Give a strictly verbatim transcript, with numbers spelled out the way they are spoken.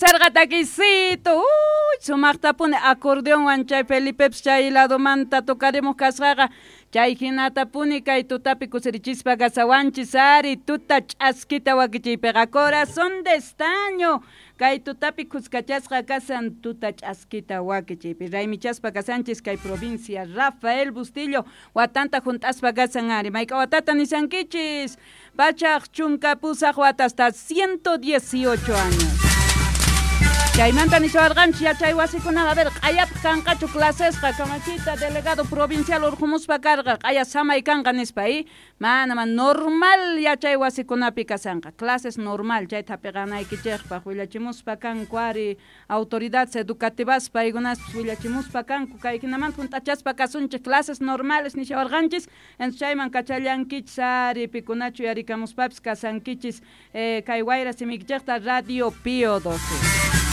Sarqa takisito, uy, sumaqtapuni acordeonwan chay Felipepis chay ladomanta tocarimuq kasqaqa, chay hinatapuni kay tutapi kusirichispa kasawanchis ari tuta ch'askita wakichiypiqa Corazón de Estaño kay tutapi kuskachasqa kasan tuta ch'askita wakichiypi raymichaspa kasanchis kay provincia Rafael Bustillo watanta hunt'aspa kasan ari mayk'a watata nisankichis pachaq chunka pusaq watasta ciento dieciocho años. Chaymanta nishawarqanchis yachay wasikunaqa, a ver, q'ayapaq kanqachu clasesqa kamachita delegado provincial urqumuspa karqa q'aya samay kanqa nispa y mana mana normal yachay wasikunapi kasanqa clases normal chayta hapiqanaykichikpaq willachimuspa kanku ari autoridades educativas paykunaspis willachimuspa kanku kay hinamanta hunt'achaspa kasunchik clases normales nishawarqanchis entonces chayman kachallankichis ari pikunachu yarikamuspapis kasankichis eh, kay wayra simiykichikta Radio Pío doce.